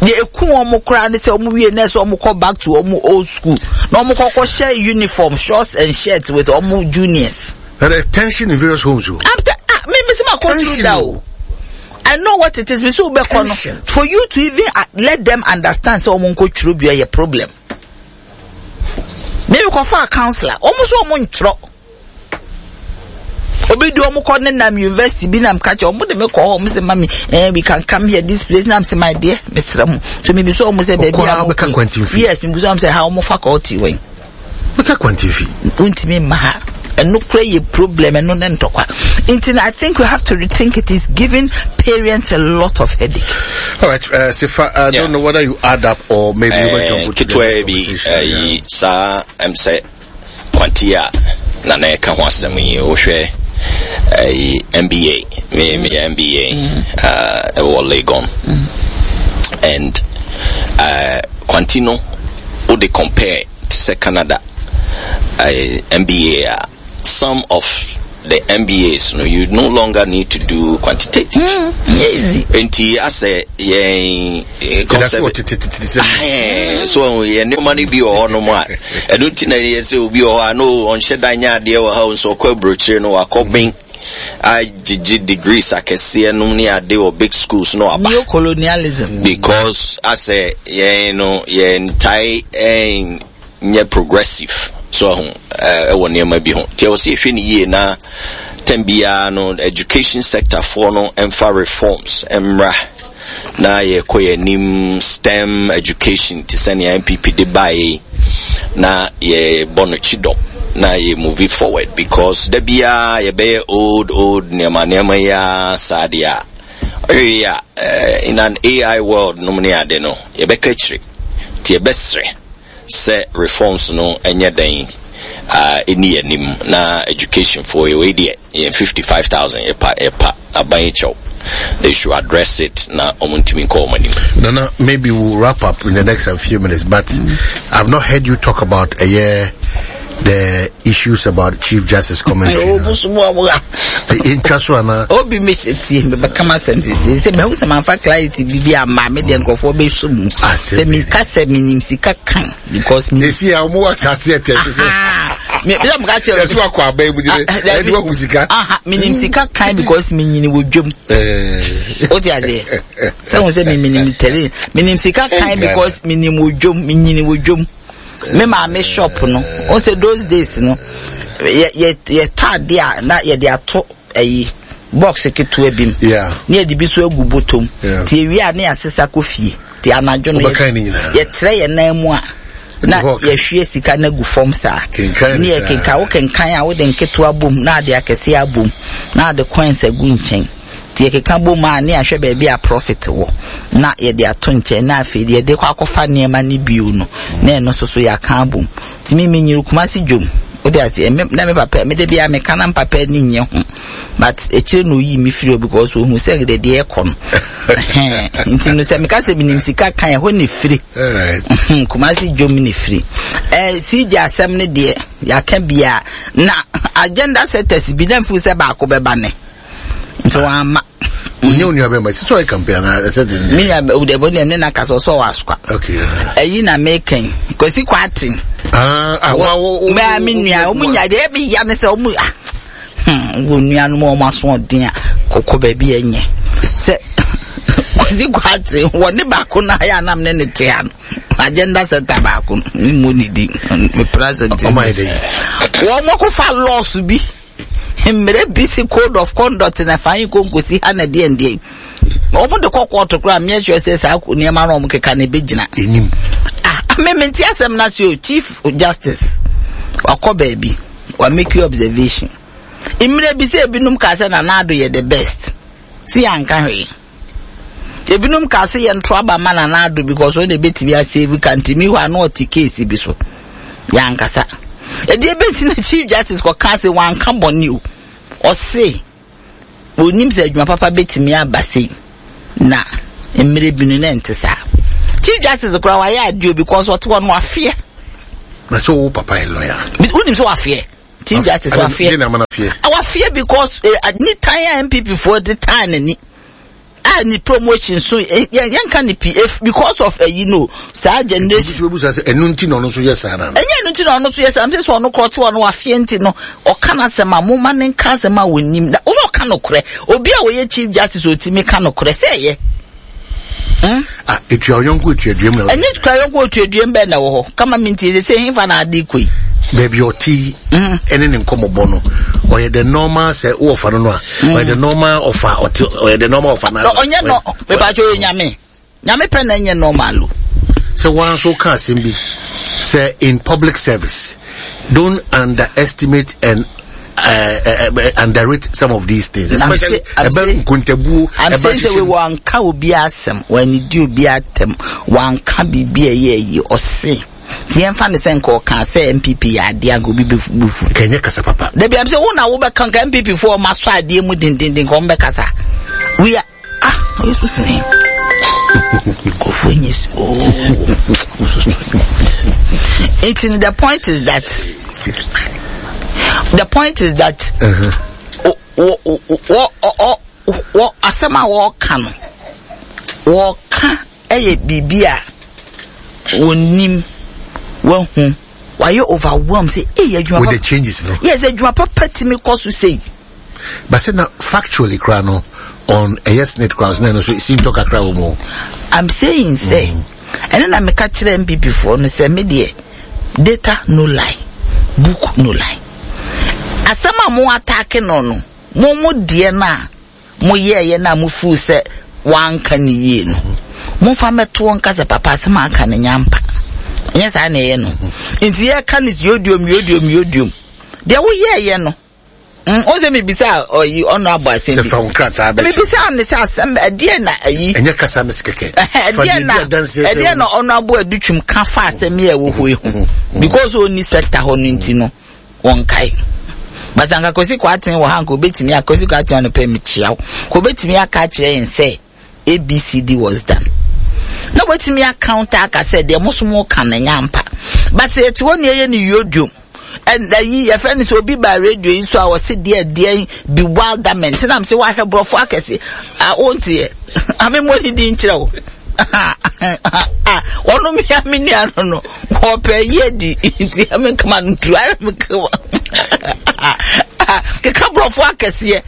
Deɛ eku wɔn koraa ne sɛ wɔn wie na ɛsɛ wɔn kɔ back to wɔn old school na wɔn kɔkɔ hyɛ uniform, shorts and shirt with wɔn juniors. Now there's tension in various homes. Oh. After ah, me me say ma kɔ through Tension, that oh. o. I know what it is. Me so wobɛkɔ no Tension. for you to even uh, let them understand sɛ wɔn nkɔ twerɛ bi ɛyɛ problem. Me kɔ fa counselor, wɔn nso wɔn ntwerɛ. Obi di wɔn kɔ ne nam university bi nam kakyɛ wɔn de me kɔ hɔ, wɔn sɛ mami eh, we can come here this place, nam sɛ my dear, mesrɛ mo. So me bi so wɔn sɛ baabi Ɔkɔ a a mo wobɛka kɔ yi. kwantimfi. Yes, me bi so wɔn sɛ ha wɔn faculty wɛn. Bɛka kwantimfi. Wontumi mma ha. Ɛno kora yɛ problem, ɛno ne ntɔkwa. Nti no, I think we have to rethink it. It's giving parents a lot of headache. All right, uh, Sifa, I Yeah. don't know whether you add up or maybe you will jump into the ketewa next bi conversation. ɛyi saa ɛm sɛ quanti a na na ɛka ho asɛm yi, wohwɛ ɛyi M B A, me meyɛ M B A uh, ɛwɔ Legon and uh, quanti no wode compare te sɛ Canada uh, M B A a, some of the M B As no, you no longer need to do quantitative. Easy. Nti asɛ yɛn eh, That's concept what it is. Ahɛn, so yɛ nneɛma no bi wɔ hɔnom a ɛno nti na yɛ sɛ obi wɔ hɔ a no ɔnhyɛ da nyɛ adeɛ wɔ ha o, nso ɔkɔ aburokyire no wakɔ ben agyegye degrees akɛseɛ nom ne ade wɔ big schools no aba. Neo-colonialism. Because asɛ yɛn no yɛn tae ɛn nyɛ progressive so ɛho ɛwɔ nneɛma bi ho, nti ɛwɔ sɛ yɛhwɛ ne yie na term biara no education sector foɔ no ɛmfa reforms mmra na yɛkɔ yɛn anim. STEM education te sɛ nea N P P de baeɛ yi na yɛbɔ no kyidɔm na yɛ move it forward, because da biara yɛbɛyɛ old old nneɛma nneɛma yi ara saa deɛ a ɔyɛ a eh, in an A I world nom ne ade no yɛbɛka akyire, nti yɛbɛsrɛ sɛ reforms no ɛnyɛ dɛn uh, ɛni anim na education for yɛ wei deɛ yɛn fifty-five thousand yɛpa yɛpa aban yi kyɛw, they should address it na ɔmo ntumi nkɔ ɔmo anim. Nana, maybe we'll wrap up in the next uh, few minutes, but I've not heard you talk about a year the issues about Chief Justice commentary. Oh, bosom wa wa. Interest one, Obi me hyɛ tie, mebɛka m'asɛm sisi sɛ mehu sɛ mamfa clarity bibi ama me deɛ nkurɔfoɔ bɛso mu Asɛm sɛ meka sɛ menim sika kan because me They see how more asase ɛtɛ sɛ. Aha. Me sɛ meka kyerɛ Yɛso akɔ aban mu gyina Ah, dabi. ɛde wahu sika. Aha, menim sika kan because menyini wɔ dwam. Eh, Wote adeɛ sɛ wo sɛ me menim tɛre menim sika kan because menim wɔ dwam, menyini wɔ dwam. Me maame shop no, wo sɛ those days no yɛ yɛ yɛtɔ adeɛ a na yɛde ato ɛyi box ketewa bi mu Yeah. ne yɛde bi so agu bɔtɔm. Yeah. Nti ewie a ne yɛasesa kɔ fie, nti anadwo no Wobɛkan ne nyinaa. yɛtrɛ yɛn nan mu a na Ɛgu hɔ ka. yɛhwie sika no agu fam saa. Kenkan ne ne yɛ saa. kenkan, wo kenkan a wode nketewa bom na ade akɛseɛ abom na ade coins agu nkyɛn, nti yɛkeka bom a ne yɛahwɛ baabi a profit wɔ na yɛde ato nkyɛn, na afei deɛ yɛde kɔ akɔfa nneɛma no bio no na ɛno nso so yɛaka abom. Nti me menyini Kumase dwom, wode Wode ase na me papa me de bia me kana papa ni nye ho. But ekyire no yi me firi because ohu sɛ de de ekɔ no. Nti no sɛ me ka sɛ minim sika kan ho ne firi. Alright. Kumasi dwom ne firi. Eh C J asɛm ne de ya ka bia na agenda setters bi na mfu sɛ baako bɛba ne. Nti wa ma Onye onua be ma si so campaign na said me ya de bo ne na ka so so asukwa. Okay. Eyi na making Kwesi Kwatin. Ah ah wa wo me me nua o munya de me ya ne se o mu ah hmm wo nua no mo aso odin a kokɔ ba bi enye. Se Kwesi Kwatin wo ne ba ko na ya nam ne ne te ano. Agenda center ba ko ni mo ni di me present. O my day. Wo mo ko fa laws bi. Mmere bi si code of conduct na fa yin konkosi ha na de ndie. Omo de kokɔ to kra me sure say sa niema no omo keka na be gina. Enim. Ah, me menti asem na se Chief Justice akɔ baabi wa make you observation. Mmere bi se ebinum ka se na na ado ye the best. Si anka hwe. Ebinum ka se ye nto aba ma na na ado because when they betimi a save country mi hwa na oti case bi so. Ya ankasa. Edi ebenti na Chief Justice ko ka se wanka boni o. O se onim se adwuma papa betimi aba sei na mmere binu na ntesa. Chief Justice kura wa ya adio because what one wa fear. Na so wo papa e lawyer. Onim so wa fear. Chief Justice wa fear. Wa fear because ni time M P P for the time ni. Ah ni promotion so yan kan ni P F because of uh, you know sa generation. Enu nti no no so yes ara. Enye enu nti no no so yes am say so no kroti wo no afie nti no o ka na sema mo ma ne nka sema wonim na o ka no kore obi a wo ye Chief Justice otimi ka no kore say ye. Hmm? Ah etua yonko etua duem na. Enye etua yonko etua duem be na wo ho. Kama minti they say himfa na ade koi. Baby oti ene ne nkomo no. Or the normal say o fa no no. Or the normal offer or the normal offer na. No onye no me pa cho nyame. Nyame pe na enye normal o. So one so ka asem bi say in public service don't underestimate and Uh, uh, uh, underrate some of these things. Especially about nkontabu. I'm saying we wanka obi asem, when you do obi atem, wanka bibi ye ye o se. Ti enfa ne se nko ka se M P P ya ade anko obi bufu. Kenye kasa papa. Da bi am say wo na wo be kan M P P for ma so ade mu dindindin ko mbe kasa. We are ah Jesus name. Ko yes. Oh. It's in the point is that The point is that o o o o o asema wo ka no wo ka eye bibia wonim wo hu why you overwhelmed say eh adwuma with the changes no yes adwuma papa timi koso say but say now factually kra no on a yes net crowds no so it talk akra wo mo. I'm saying say mm. And then I me catch M P P for no say me there data no lie, book no lie. Asama mo attack no no mo mo de na mo ye ye na mo fu se wanka ni ye no mo fa meto nka se papa asama aka ne nyampa yes I na ye no nti ye ka ne yodiom yodiom yodiom de wo ye ye no mm o se me bisa o yi honorable asem se fa nkrata be me bisa ne se asem e de na ayi enye kasa ne sekeke e de na e de na honorable adutwum ka fa asem ye wo ho ehu because oni sector ho no nti no wonkai. But anka Kwesi Kwatin wo hanko obetimi akosi Kwatin no pe me chia. Ko obetimi aka kire yin say A B C D was done. Na obetimi account aka say de mo so mo ka na nyampa. But it won ye ni yodium. And yi your friend is obi by radio yi so I was say there there bewilderment. Na am say wa hwe brofo akese. Ah won't ye. Ame mo ni di nkire wo. Ah, ono mi ami nua no no. Wo pe ye di nti ame kama ntu ame kama. Keka brofo akese.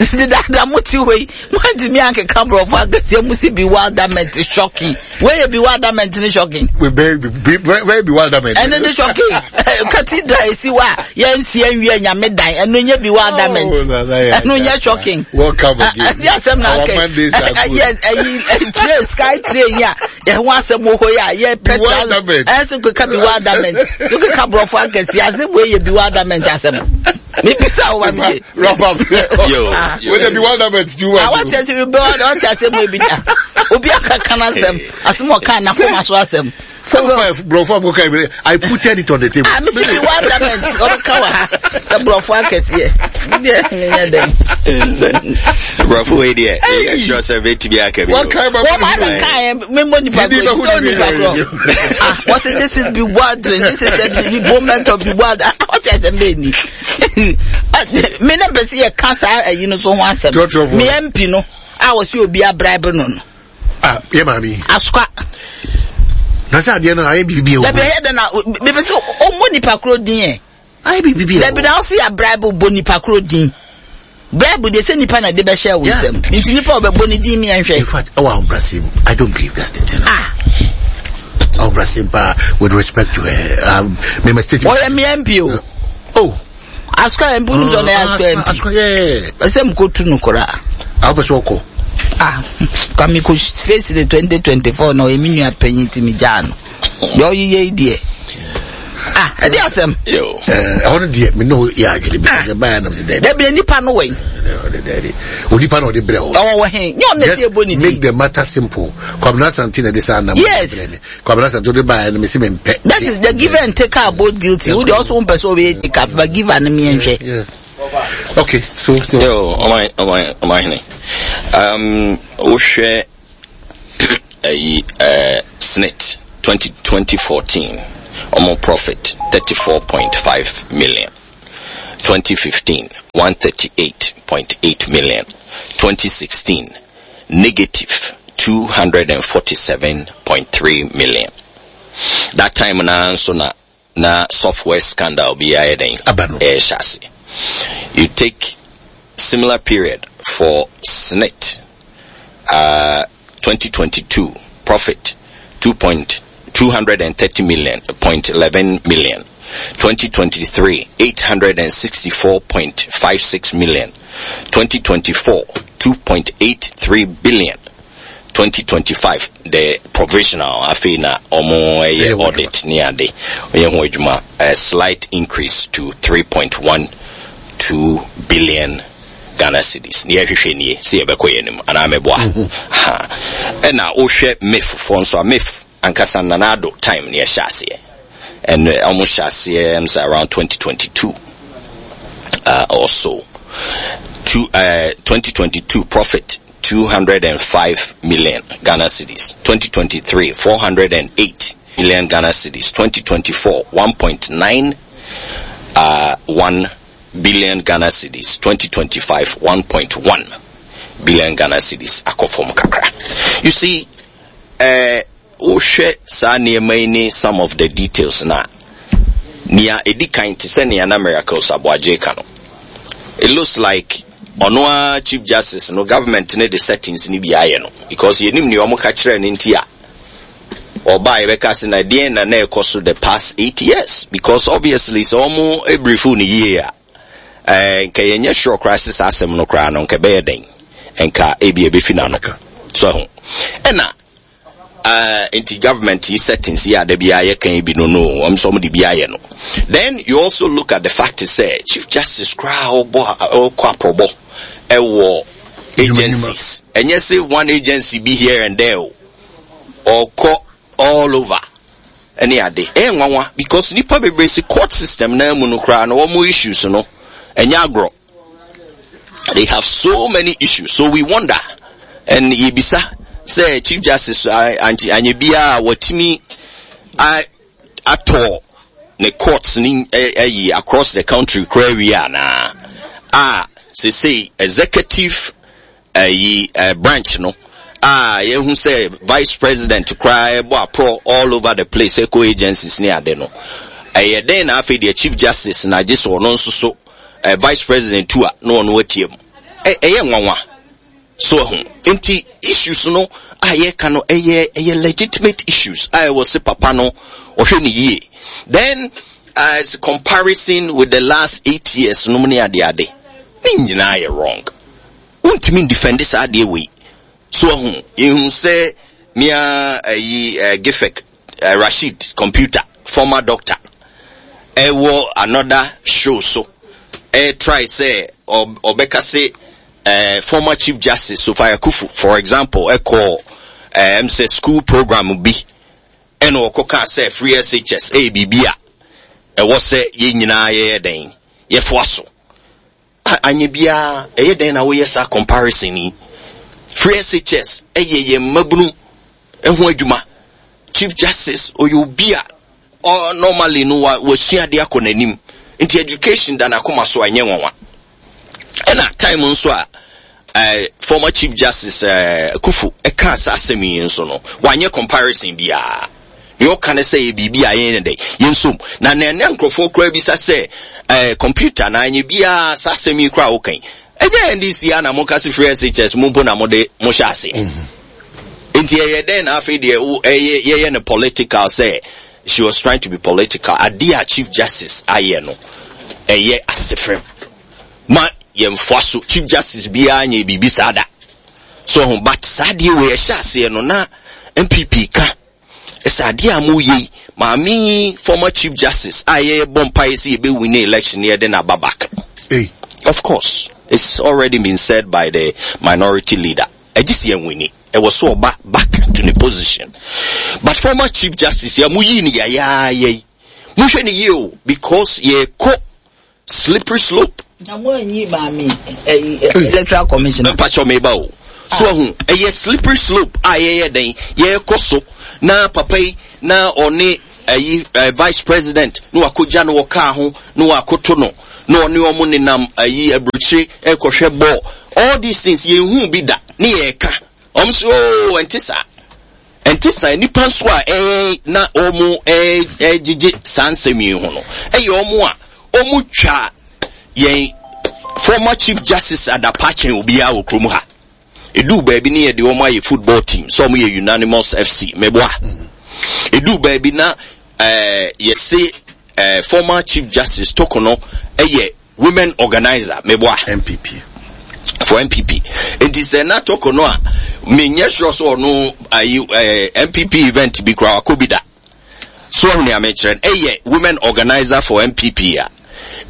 Dada muti wei mwanti mi anke kambrofo akese musi bewilderment is shocking. Where you bewilderment is shocking? We very be very bewilderment. And then shocking. Cathedral esi wa ye nsi anwie nyame dan eno nye bewilderment. Eno nye shocking. Welcome again. Yes, I'm not. Yes, eh train sky train ya. Ye ho asem ho ya ye petrol. Eh so keka bewilderment. So keka brofo akese asem we ye bewilderment asem. Me bisa wa me. Wrap up. Yo. With the bewilderment you I want to say bewilderment I say me bi da. Obi aka kan asem. Asem o kan na koma so asem. Four five brɔfo akɔka yi I put it on the table. Ah, mesi bewilderment ɔbɛka wɔ ha brɔfo akɛseɛ deɛ menyɛ dɛn. Brɔfo wei deɛ ɛyɛ sure sɛ bɛtumi aka bi. Wɔn ma na kan yɛ mmemmɔ nipa koro sɛ onipa koro. Ah, wɔsi this is bewildering, this is the moment of bewildering. Ah, ɔte asɛm bɛɛ ni. Me na mpɛ sɛ yɛ ka saa ɛyi no so ho asɛm. Me M P no a wɔsi obi abribe no no. Ah, yɛ maame. Asokwa. Na sɛ adeɛ no ayɛ biribi ɛwɔ. Dabi, ɛyɛ dɛ na bebe sɛ ɔmmɔ nipa koro din yɛ. Ayɛ biribi bi ɛwɔ. Dabi, na ɔsi abribe, bɔ nipa koro din. Bribe deɛ, sɛ nipa na de bɛhyɛ wo nsam nti nipa a ɔbɛbɔ ne din mi ɛnhwɛ. In fact, ɛwɔ ahobrɛase mu, I don't believe that statement. Ah. Ahobrɛase paa, with respect to her, um, me ma statement. Ɔyɛ mi M P o. Oh. Asukwa M P n sɔ na yɛ Asukwa M P. Asukwa, yeah. Ɛsɛ mu ko tu no koraa. Awo pɛ sɛ ɔkɔ. Ah, kwame ko face the twenty twenty four na ɔyɛ mi nua panyin ti mi gyaa no deɛ ɔyɛ yi deɛ, ah, ɛdi asɛm. Ɛhɔ no deɛ, me ne wo yɛ adwene bi yɛ baa nam sɛ dɛbi. Dabi, nipa no wɛn. Onipa na ɔde brɛ o. Ɔwɔ wɔ hɛn nye ɔno ti ebo ne di. Make the matter simple, Kwabena Asante na de saa nam. Yes. Kwabena Asante ɔde baa yɛ no, mesi mi mpɛ. That is the giver and taker are both guilty. Wo de ɔso mpɛ sɛ ɔbɛyɛ taker, but giver no mi nhwɛ. Okay, so so. Yo, ɔman ɔman ɔman hene, um, wohwɛ ɛyi ɛɛ SSNIT twenty twenty fourteen, ɔmo profit thirty four point five million, twenty fifteen one thirty eight point eight million, twenty sixteen negative two hundred and forty seven point three million. That time na nso na na software scandal bi ayɛ den ɛɛhyɛ ase. You take similar period for SSNIT, uh, twenty twenty-two profit two point two hundred thirty million point eleven million, twenty twenty-three eight hundred sixty-four point five six million, twenty twenty-four two point eight three billion, twenty twenty-five the provisional, afei na ɔmo ɛyɛ audit ne ade ɔyɛ ho adwuma, a slight increase to three point one two billion Ghana cedis. Ne yɛhwehwɛ nie sɛ yɛbɛkɔ yɛn anim anaa mɛboa ha. Ɛna wohwɛ MIIF foɔ nso a, MIIF ankasa Nana Addo time ne yɛhyɛ aseɛ, and ɔmo hyɛ aseɛ m sɛ around twenty twenty-two uh, or so to, uh, twenty twenty-two profit two hundred five million Ghana cedis, twenty twenty-three four hundred eight million Ghana cedis, twenty twenty-four one point nine uh, one billion Ghana cedis, twenty twenty-five one point one billion Ghana cedis, akɔ fam kakra. You see, uh, wohwɛ saa nneɛma yi ne some of the details na nea ɛdi kan te sɛ nea na Miracles Aboagye ka no, it looks like ɔno ara Chief Justice no, government ne de settings ne bi ayɛ no, because yɛnim nea ɔmo ka kyerɛ no nti a ɔbaa yɛbɛka se na deɛn na na ɛkɔ so the past eight years, because obviously sɛ ɔmo ebrief ne yie a, ɛɛ nka yɛnyɛ sure koraa sɛ saa asɛm no koraa no nka ɛbɛyɛ dɛn, nka ebi ebefi n'ano so ɛho. Ɛna uh, nti government yi settings yi ada bi ayɛ kan bi no no wɔn nso wɔn de bi ayɛ no. Then you also look at the fact sɛ Chief Justice koraa ɔbɔ ɔkɔ aprɔbɔ ɛwɔ agencies, ɛnyɛ sɛ one agency bi here and there o, ɔkɔ all over ɛne ade. Ɛyɛ nwanwa because nipa bebree si court system naa mu no koraa no, wɔn issues no ɛnyɛ agorɔ. They have so many issues, so we wonder and yɛbisa sɛ Chief Justice anya biara wɔtumi atɔ ne courts ne ayi across the country koraa wie anaa, a sesei executive ayi uh, branch no a yɛhu sɛ Vice President koraa ɛbɔ aprɔ all over the place ɛkɔ agencies ne ade no, ɛyɛ dɛn na afei deɛ Chief Justice na agye sɛ ɔno nso so uh, Vice President tu a na ɔno atie mu? Ɛyɛ nwanwa so ɛho. Nti issues no a yɛka no, ɛyɛ ɛyɛ legitimate issues a ɛwɔ se papa no ɔhwɛ ne yie. Then as comparison with the last eight years no mu ne ade ade ne nyinaa yɛ wrong. Wontumi defend saa adeɛ wei so ɛho. Ehu sɛ mia ɛyi uh, Gifek uh, Rashid computer former doctor ɛwɔ another show so ɛ try sɛ ɔbɛka se uh, former Chief Justice Sophia Akuffo, for example, ɛkɔ um, sɛ school program bi Ɛna ɔkɔka sɛ free S H S ɛyɛ biribi a ɛwɔ sɛ yɛn nyinaa yɛyɛ dɛn, yɛfoa so. Anyɛ biara, ɛyɛ dɛn na woyɛ saa comparison yi? Free S H S ɛyɛ yɛn mmabunu ɛho adwuma. Chief Justice ɔyɛ obi a ɔ normally no wa wasua adeɛ akɔ n'anim, nti education da n'akoma so a, ɛnyɛ nwanwa. Ɛna time nso a uh, former Chief Justice uh, Kufu ɛka saa asɛm yi nso no, wanyɛ comparison biara. Nea ɔka ne sɛ yɛ biribi a yɛn dɛ yɛn nsom na na ɛnɛ nkurɔfoɔ koraa bisa sɛ ɛɛ computer na anyɛ biara, saa asɛm yi koraa ɔka yi, ɛnyɛ N D C a na mo ka se free S H S mo mpo na mo de mo hyɛ ase, nti ɛyɛ dɛn na afei deɛ wo ɛyɛ yɛyɛ no political, sɛ she was trying to be political? Adeɛ a Chief Justice ayɛ no, ɛyɛ asefrɛm ma yɛmfoa so. Chief Justice biara nyɛ biribi saa da so ho, but saa adeɛ wei ɛhyɛ aseɛ no na N P P ka ɛsɛ adeɛ a moyɛ yi, maame yi, former Chief Justice a yɛbɔ mpaeɛ sɛ yɛbɛwin election ne yɛde n'aba back. Hey. Of course, it's already been said by the minority leader, ɛgye sɛ yɛnwin, ɛwɔ so ɔba back to the position. But former Chief Justice yɛ moyii no yɛyaayɛ yi, mohwɛ ne yie o, because yɛkɔ slippery slope. Na mo anyi maame ɛyi Electoral Commission. Mpakyɛw, meba o. So ɔho ɛyɛ slippery slope a yɛyɛ dɛn yɛkɔ so na papa yi na ɔne ɛyi ɛ vice president na wakɔgya no wɔ kaa ho na wakoto no na ɔne ɔmo nenam ɛyi aburokyire ɛkɔhwɛ bɔɔl. All these things, yɛn hu bi da ne yɛka ɔmo so ooo, ɛnte saa, ɛnte saa. Nipa nso a ɛɛ na ɔmo ɛɛ ɛgyegye saa nsɛm yi ho no, ɛyɛ ɔmo a ɔmo twa yɛn former Chief Justice adapa kyɛn obiara wɔ kurom ha. Edu baabi ne yɛde wɔn ayɛ football team sɛ wɔn yɛ Unanimous F C, mɛboa. Edu baabi na ɛɛ yɛse ɛɛ former Chief Justice Torkornoo ɛyɛ women organizer, mɛboa? N P P. For N P P. Nti sɛ na Torkornoo a menyɛ sure sɛ ɔno ayi ɛɛ N P P event bi koraa wakɔ bi da so, ɔno nea mekyerɛ no ɛyɛ women organizer for N P P a,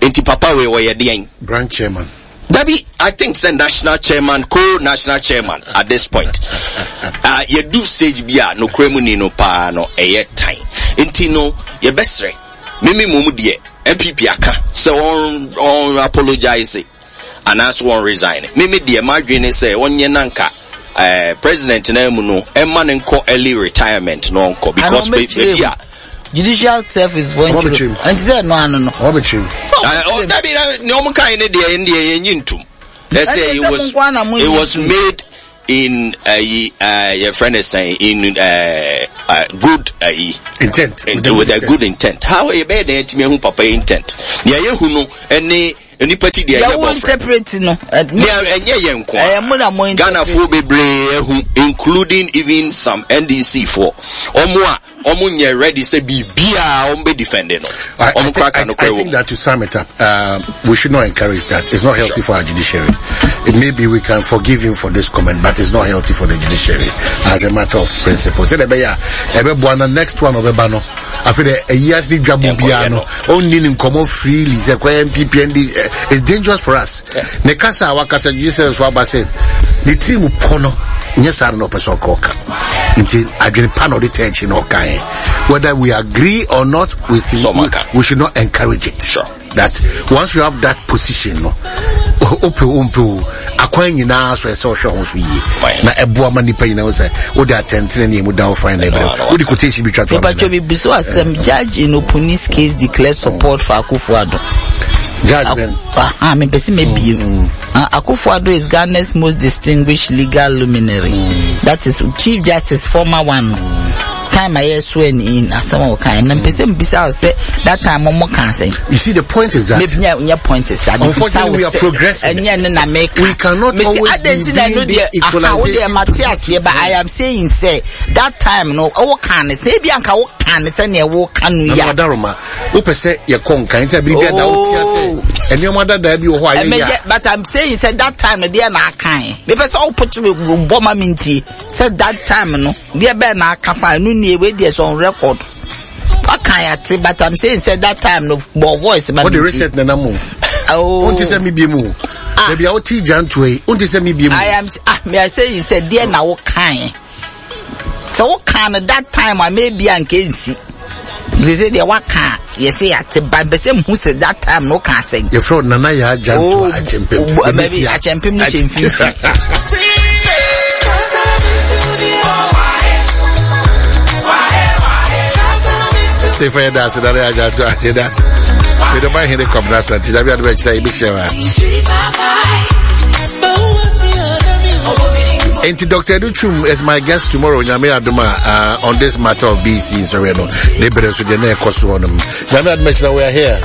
nti papa wei ɔyɛ deɛn? Branch chairman. Dabi, I think sɛ national chairman, co-national chairman at this point. Uh, yɛdu stage bi a nokura mu ni no paa no, ɛyɛ tan. Nti no, yɛbɛsrɛ. Mimi mom deɛ, N P P aka sɛ ɔn ɔn apologize anaasɛ wɔn resign. Mimi deɛ, madwene ne sɛ ɔnyɛ nanka uh, president na mu no, ɛma ne nkɔ early retirement na ɔnkɔ, because baabi a Judicial Service fo ntwerɛ nti sɛ ɛno ano no. Ɔbɛkyerɛ mu. Oh, dabi, na ne ɔmo kan ne deɛ ne deɛ yɛnyi ntum. Ɛsɛ it was it was made in uh, uh, your friend is saying in uh, uh, good uh, intent. In, with, with a good intent. How you bɛyɛ dɛn ɛtumi ehu papa intent? Nea yɛhu no ɛne nipa ti deɛ ɛyɛ bɔfrɛ. Interpret no. Nea ɛnyɛ yɛn nko a. Ɛyɛ mo na mo interpret. Ghanafoɔ bebree ɛhu, including even some N D C foɔ. Ɔmo a ɔmo nyɛ ready sɛ biribiara ɔmo bɛ defend no. Ɔmo kora ka no kora. I think that to sum it up, um, we should not encourage that. It's not healthy sure. for our judiciary. It may be we can forgive him for this comment, but it's not healthy for the judiciary as a matter of principle. Sɛ ɛbɛyɛ a ɛbɛboa na next one ɔbɛba no, afei dɛ ɛyi ase ni dwabo biara no, ɔnni ne nkɔmɔ freely sɛ kɔ N P P N D. It's dangerous for us. Ne kasa a wakasa judiciary so aba sɛ ne tiri mu pɔ no nyɛ saa na ɔpɛ sɛ ɔkɔ ɔka, nti adwene pa na ɔde tɛ akyi na ɔka yɛn. Whether we agree or not with him, we, we should not encourage it. Sure. That once you have that position no, ope ompe o, akwan nyinaa so ɛsɛ ɔhwɛ ho so yie na ɛboa ma nipa nyinaa sɛ wode atɛntene ne emu da wo fan na ɛbrɛ wode quotation bi twa to. Mepa kyɛw, bi so asɛm, judge in Opuni's case declare support for Akufo-Addo. Judge Ben. Ah, me pese me bie. Uh, Akufo-Addo is Ghana's most distinguished legal luminary. Mm. That is Chief Justice, former one. Mm. Time I swear in asɛm a wɔka na mpɛ sɛ mbisa sɛ that time mo ka sɛ. You see, the point is that. Maybe nyɛ point is that. Unfortunately, we are progressing. Ɛnyɛ ne na meka. We cannot always be doing this equalization. Wo deɛ mate aseɛ, but I am saying sɛ that time no ɔwɔ kan ne sɛ ebi anka wo kan ne sɛ nea ɛwɔ kan no ya. Adaroma, wopɛ sɛ yɛkɔ nkan nti abiri bi ada wo tia sɛ nneɛma dadaa bi wɔ hɔ a yɛyɛ a. But I'm saying sɛ that time no deɛ na akan mepɛ sɛ ɔpɔtɔ bɔ ma mi ntie sɛ that time no deɛ bɛɛ na aka fa ɛno nie, wei deɛ sɛ on record waka yate, but I'm saying sɛ that time no bɔ voice ma mi ntie. Wode reset nana mu. Oh. Wonte sɛ mi bie mu. Baabi a wote gya ntoa yi, wonte sɛ mi bie mu. I am ah me I saying sɛ deɛ na wo kan sɛ Sɛ woka no that time a, maybe anka nsi sɛ deɛ waka a, yɛsɛ yɛate ba mpɛ sɛ mhu sɛ that time no woka asɛn. Yɛfrɛ wo Nana Yaa Gyantoa Oh, Akyempem. oh, maybe Akyempem no hyɛ mfimfini. Sɛ fa yɛda ase, Nana Yaa Gyantoa, yɛda ase. Mede ma hene kɔmna sante Nyame adom akyerɛ yɛbɛhyia wa. Enti Doctor Edu Chum is my guest tomorrow, Nyame adom a, uh, on this matter of B C nsɔre no ne berɛ so deɛ na ɛkɔ soɔ no mu. Nyame adom akyerɛ, we are here.